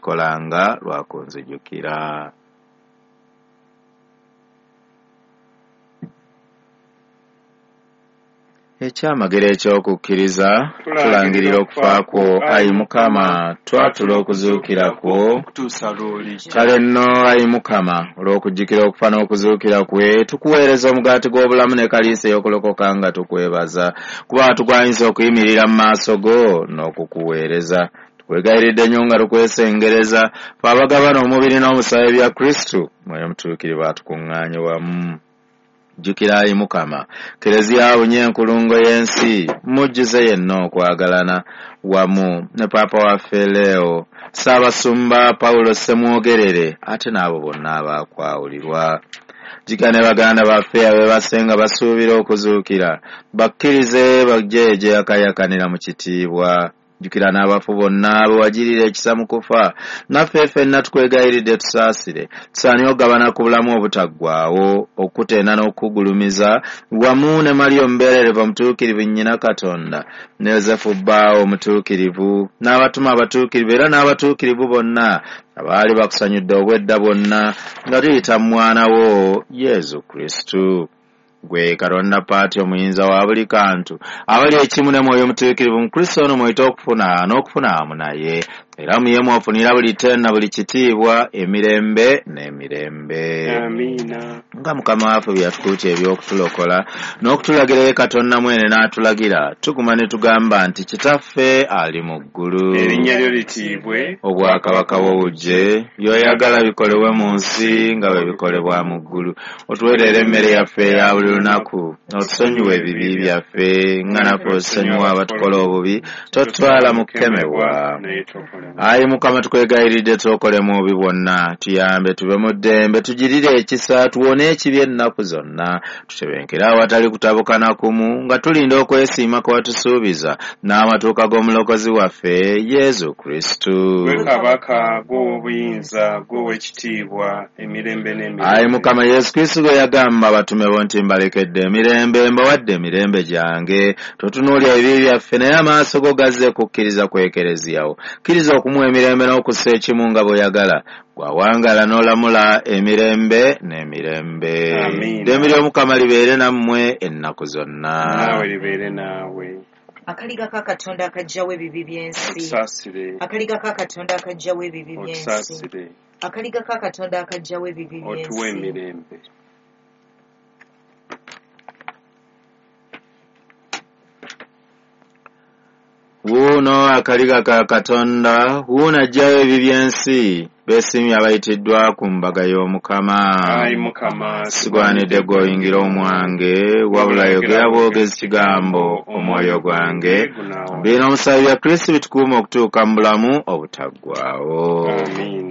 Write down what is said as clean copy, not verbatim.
Mukikolanga lwa kunzijukira. Ekyamagero eky'okukkiriza, tulangirira okufa kwo, ayi Mukama, twatula okuzuukira kwo. Okutuusa lw'olijja. Kale nno, ayi Mukama, olw'okujjukira okufa n'okuzuukira kwe, tukuweereza omugaati gw'obulamu ne kaliisa ey'okulokoka nga tukwebaza, kuba tugwanyisa okuyimirira mu maaso go n'okukuweereza. Tukwegayiridde nnyo nga tukwesengereza, ffe abagabana omubiri n'omusaayi bya Kristu, Mwoyo Mutuukirivu atukuŋŋaanye wamu. Jjukira ayi Mukama, Kereziya abunye enkulungo y'ensi, mujjuze yenna okwagalana wamu ne Paapa waffe Leo, Ssaabasumba Pawulo Ssemwogerere, ate n'abo bonna abaakwawulirwa. Jjukira ne baganda baffe abeebase nga basuubira okuzuukira, bakkirize bajje gye yakayakanira mu kitiibwa. Jjukira n'abafu bonna be wagirira ekisa mu kufa, naffe ffenna tukwegayiridde tusaasire, tusaanye okugabana ku bulamu obutaggwaawo, okukutenda n'okukugulumiza, wamu ne Mariya omubeererevu omutuukirivu nnyina Katonda, ne Yozefu bbaawo omutuukirivu, n'abatume abatuukirivu era n'abatuukirivu bonna abaali bakusanyudde obwedda bwonna nga tuyita mu mwana wo Yezu Kristu. Gwe Katonda Paati omuyinza wa buli kantu, abali ekimu ne Mwoyo Mutuukirivu mu Kristo ono mw'oyita okufuna n'okufuna awamu naye, era mu ye mw'ofunira buli ttendo na buli kitiibwa emirembe n'emirembe. Amiina. Nga Mukama waffe bwe yatukuutya eby'okutulokola n'okutulagira ye Katonda mwene n'atulagira, tuguma ne tugamba nti Kitaffe ali mu ggulu. Erinnya lyo litiibwe. Obwakabaka bwo bujje, by'oyagala bikolebwe mu nsi nga bwe bikolebwa mu ggulu. Otuweerere emmere yaffe eya buli lunaku, otusonyiwe ebibi byaffe nga naffe otusonyiwa abatukola obubi, totutwala mu kukemebwa. Naye tokole. Ayi Mukama, tukwegayiridde tuokolemu obubi bwonna, tuyambe tube mu ddembe, tugirire ekisa, tuwone ekibi ennaku zonna, tutebenkere awatali kutabuka na kumu, nga tulinda okwesiima kwe watusuubiza n'amatuuka g'omulokozi waffe Yezu Kristu. Gwe kabaka, gwe ow'obuyinza, gwe ow'ekitiibwa, emirembe n'emirembe. Ayi Mukama Yesu Kristu gwe yagamba abatume bo nti mbalekedde emirembe, mbawadde emirembe gyange, totunuulya ebibi byaffe, naye amaaso go gazze kukkiriza ku Ekereziya wo. Kkiriza okumuwa emirembe n'okussa ekimu nga bw'oyagala, gw'awangaala n'olamula emirembe n'emirembe. Amiina. Ddembe ly'Omukama libeere nammwe ennaku zonna. Naawe libeere naawe. Akaliga ka Katonda akaggyawo ebibi by'ensi. Otusaasire. Akaliga ka Katonda akaggyawo ebibi by'ensi. Otusaasire. Akaliga ka Katonda akaggyawo ebibi Otuwe by'ensi. emirembe. Wuuno akaliga ka Katonda, wuuno aggyawo ebibi by'ensi, beesiimye abayitiddwa ku mbaga y'Omukama. Ayi Mukama, Sigwanidde gwe oyingira omwange, wabula yogera bwogezi kigambo, omwoyo gwange. Gunaawo. Bino omusaayi bya Kristo bitukuuma okutuuka mu bulamu obutaggwaawo. Amiina.